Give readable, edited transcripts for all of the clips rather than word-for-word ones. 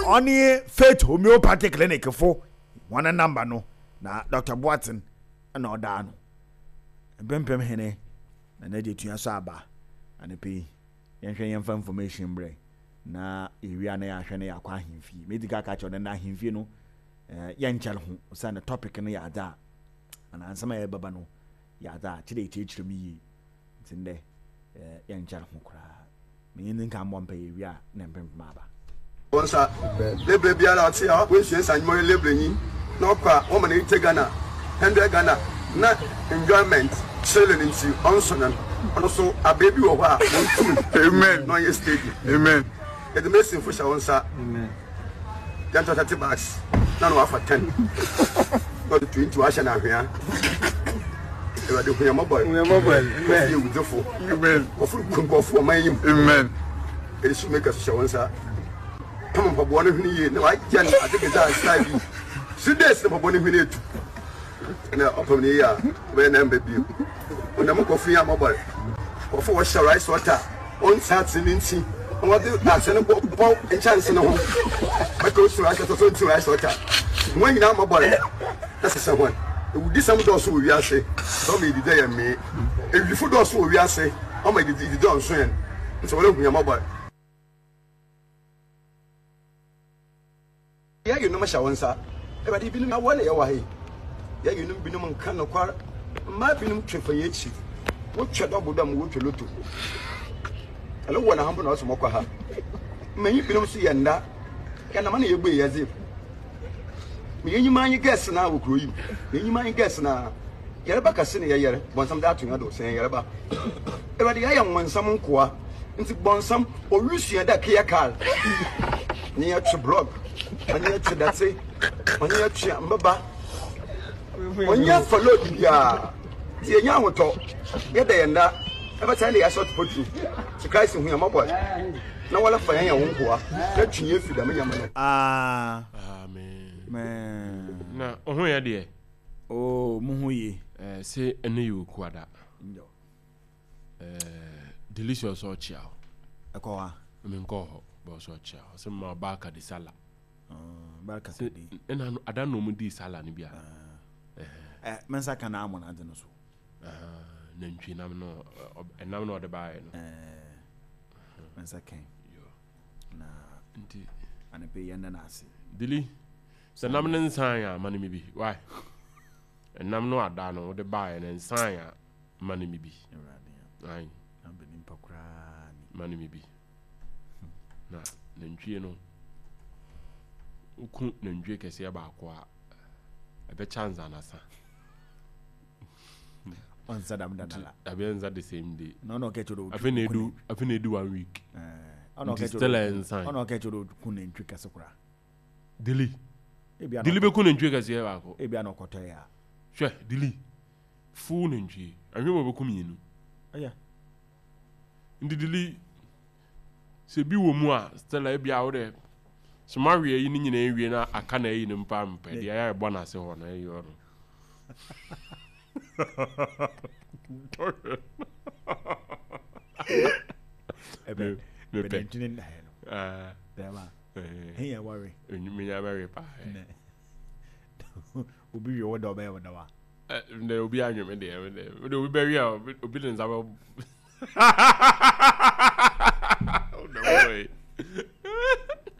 Ɔne Faith Homeopathy Clinic fo hɔn number no na Doctor Boateng na ɔda ano. Mpempem hene na n'agya tua so aba anɔpa yi. Yɛnhwɛ yɛmfa information mbrɛ na yɛwie a na yɛahwɛ na yɛakɔ ahemfie. Medi ka ka kyerɛ wo dɛ ndɛ ahemfie no eh, yɛnkyɛr ho osiandɛ topic no yɛ adze a anaa nsɛm a yɛbɛba no yɛ adze a kyerɛ yɛkyerɛkyerɛ mu yie. Ntsi ndɛ eh, yɛnkyɛr ho koraa. Menye ndzi nka mbɔ mpaa yewie a na mpempem aba. Wɔn nsa. Lebre biara a ɔtse a oesua nsanwuma ɔyɛ lebrenyi na ɔkɔ a wɔma no 80 Ghana, 100 Ghana na enjoyment chilling ntsi ɔnnsɔ no ɔno so aber bi wɔ hɔ a wonntum na ɔnnyɛ steady. Yɛdze masonfo hyɛ wo nsa. Yɛntɔ 30 bags na na wafa 10 na ɔde 20 wahyɛ no ahwea. Awurade hu yɛn mmɔbɔ. Kɔfo yɛ wudzefo. Kɔfo ku nkurɔfo wɔ man yi mu. Ɛde so meka so hyɛ wo nsa. Pam mpaboa no hwene yie na wagya no ade kɛse a style bi. 3 days na mpaboa no hwene etu. Na ɔpam no yie a ɔbɛyɛ na ɛmba bio. Ɔnam nkurɔfo yi a mmɔbɔ. Nkurɔfo wɔhyɛ rice water. Ɔnntse atse ne ntsi na wɔdze atse no bɔbɔ nkyɛnse no ho. Bɛka osi rice water so ntsi rice water. Hɔn nyina mɔbɔr na sesa hɔn. Ewudisɛm dɔɔ so wɔ wiase, ntsi ɔma yedidi a yɛmmee. Ewifo dɔɔ so wɔ wiase, ɔma yedidi a ɔnnso hɛn. Ntsi woara hu hɛn mɔbɔr. Yɛn yerenom hyɛ wo nsa. Awurade, binom awɔ na yɛwɔ ha yi. Yɛn yerenom binom nka nokwar. Mmaa binom twe fa yɛn akyi. Wotwa dɔbo dɛ mo wotwa loto. Ɛno wɔ na ha mpo na ɔsɛ mɔkɔ ha. Mmanyin binom nso yɛ nda. Yɛnam na yɛbue yɛdze. Me yɛn nyima nye gɛs na wɔ kuro yi mu. Yɛn nyima nye gɛs na. Yarba kɛse na yɛyar, bɔnsam dze ato hɛn do sɛ hɛn yarba. Ewuradze, yɛayɛ nwonsam nkoa, ntsi bɔnsam, orusua dɛ keyɛ kaar, nye yɛ twe blɔg, ɔnye yɛ twe dɛtse, ɔnye yɛ twe mbɛba, ɔnye yɛ fa load biara, ntsi yenya ahotɔ, yɛda yɛn nda, ebɛtse hɛn dɛ yɛahyɛ ɔtopɔtru, ntsi Christ hu hɛn mbɔbɔr na wɔla fa hɛn yɛ wo nkoa, na twe hɛn fi dɛm ndzɛmba no. Amen. Na wo ho yɛ deɛ? Oh, mo ho ye. Eh, se ɛno yɛ okuada. Nyo. Eh, delicious ɔkyea o. Ɛkɔ ha. Menkɔ hɔ, bɛ ɔsɛ ɔkyea. Ɔsɛ ma barka de sala. Uh, barka de. Ɛna no ada na ɔmo di sala no bi a. Uh, eh, me nsa ka na amon ade no so. Uh, nantwi nam no, ɛnam na ɔde baayɛ no. Eh, me nsa kan. Yo. Na nti anepe yɛn na ase. Dili. Sɛ nam no nsan a, ma no me bi. Why? Nam no ada no, wode baeɛ no nsan a, ma no me bi. Ayi. Ma no me bi. Na nantwie no, woku nantwie kɛseɛ baako a, ɛbɛkyɛ ansa na asa. Ɔnsa dam da nala. Dabi ɛnsa the same day. Na ɔna ɔkɛ kyerɛ Afei na edu afei na edu one week. Nti still ɛnsan. Ɔna ɔkɛ kyerɛ ku nantwie kɛse koraa. Dili. Dili bɛku nantwie kɛseɛ baako. Ebia na ɔkɔtɔ yɛ a. Hwɛ dili. Full nantwie. Ahwɛ mu ɔbɛku mmienu. Ɛyɛ. Nti dili sɛ bi wɔ mu a Stella ebia wo dɛ sɛ mawe ayi no nyinaa awie na aka na ayi no mpa mpɛ deɛ ayɛ ɛbɔ n'ase hɔ no ɛyɛ ɔno. Ɛbɛ mepɛ. Nantwie ne ndaeɛ no. Bɛrima. Ɛyɛ wɔre. Menya bɛwe paa. Obi wie wo dɛ ɔbɛyɛ wo dɛ wa. Ndɛ obi anwe me deɛ me deɛ me obi bɛwe a obi de nsa bɛ. Ɔdɔ mbɔ yi.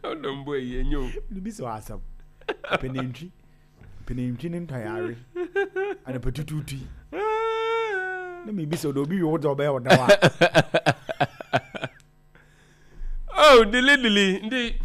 Ɔdɔ mbɔ yi enyo. Bibi sɛ asɛm. Pɛ nantwi. Pɛ nantwi ne ntɔyare. Anapa tutuutu yi. Na mi bi sɛ ɔdɔ obi wie wo dɛ ɔbɛyɛ wo dɛ wa. Oh, dili dili nti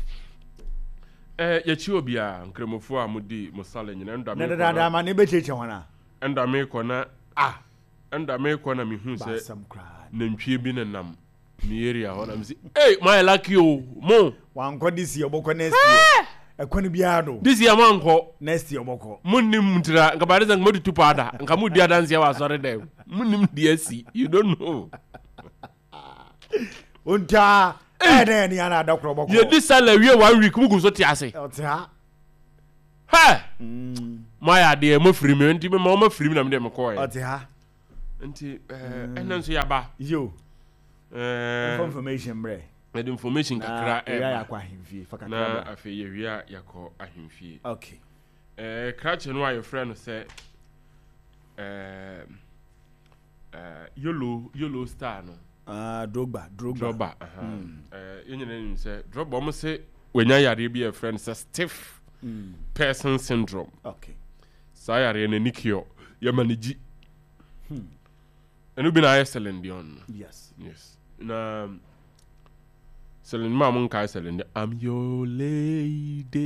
eh, yɛkyi obiara nkramofoɔ a modi mo sale nyina ɛnda na dadaada ma ne bɛkyekyɛ hɔn a ɛnda mekɔ na ah ɛnda mekɔ na mehu sɛ baasɛm koraa nantwie bi nenam me area hɔ na mesi ei moayɛ lucky o mo wankɔ this year ɔbɔkɔ next year ɛkwan biara do this year moankɔ next year ɔbɔkɔ monnim ntira nka baade sɛ nka moatutu paada nka modi adanseɛ wɔ asɔre dɛm monnim deɛ asi you don't know Ontaa ɛyɛ dɛ ɛne ana ada korɔ bɔkɔ. Yɛdi sala wie one week mu gu so te ase. Ɔte ha. Hɛ! Mm. Mo ayɛ adeɛ mo firi mi nti mo ma firi mi na mi deɛ mo kɔɔ yɛ. Ɔte ha. Nti ɛɛ ɛna nso yaba. Yo. Ɛɛ. Information brɛ. Yɛde information kakra ɛba. Yɛakɔ ahemfie. Fa kakra Na afei yɛwie a yɛakɔ ahemfie. Okay. Ɛɛ krakye no a yɛfrɛ no sɛ ɛɛ ɛɛ yellow yellow star no. Ah, Drogba, Drogba. Drogba, aha. Mm. Ɛɛ yɛn nyinaa nim sɛ Drogba wɔn se wɔnya yareɛ bi a yɛfrɛ no sɛ stiff mm. person syndrome. Okay. Saa yareɛ no ani cure yɛma no gyi. Hmm. Ɛno bi na ayɛ Celine Dion no. Yes. Yes. Na Celine maa mo nkae Celine Dion. I'm your lady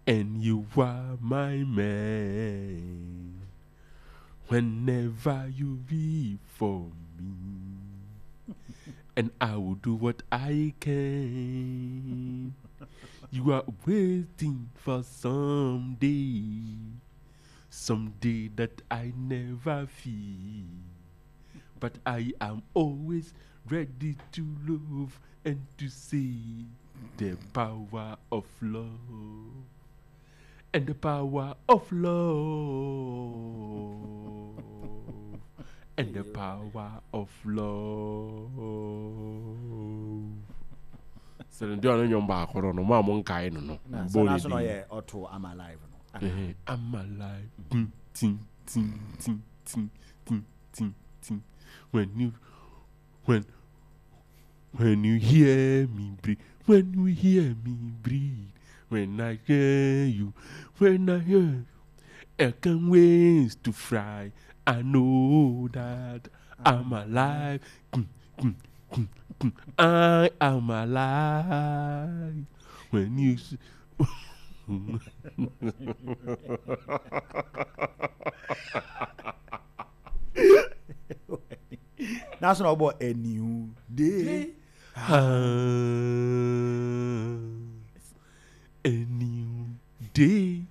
and you are my man. Whenever you be for me and I will do what I can. You are waiting for someday Someday that I never feel. But I am always ready to love and to see the power of love. And the power of love. And the power of love. Sɛ ne deɛ ɔno nnwom baako no no mo a mo nkae no no. Bɔ ne din. Ɔto I'm alive no. Eh, I'm alive. Tim, tim, tim, tim, tim, tim, tim, tim. When you, when, when you hear me breathe, when you hear me breathe, when I hear you, when I hear you, I can wait to fly. I know that I'm alive. Mm, mm, mm, mm. I am alive. When you. N'aso na ɔbɔ a new day. A new day.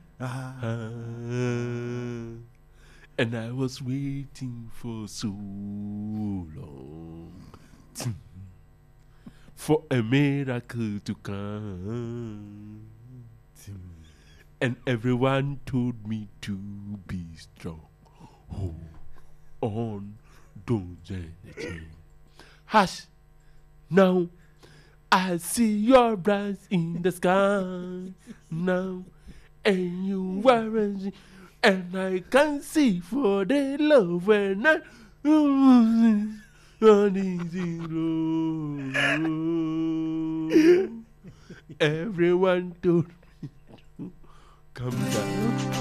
And I was waiting for so long for a miracle to come. And everyone told me to be strong. Hold on, don't change. Hush, now I see your eyes in the sky now, and you are and I can see for the love when I. Everyone told me to come down.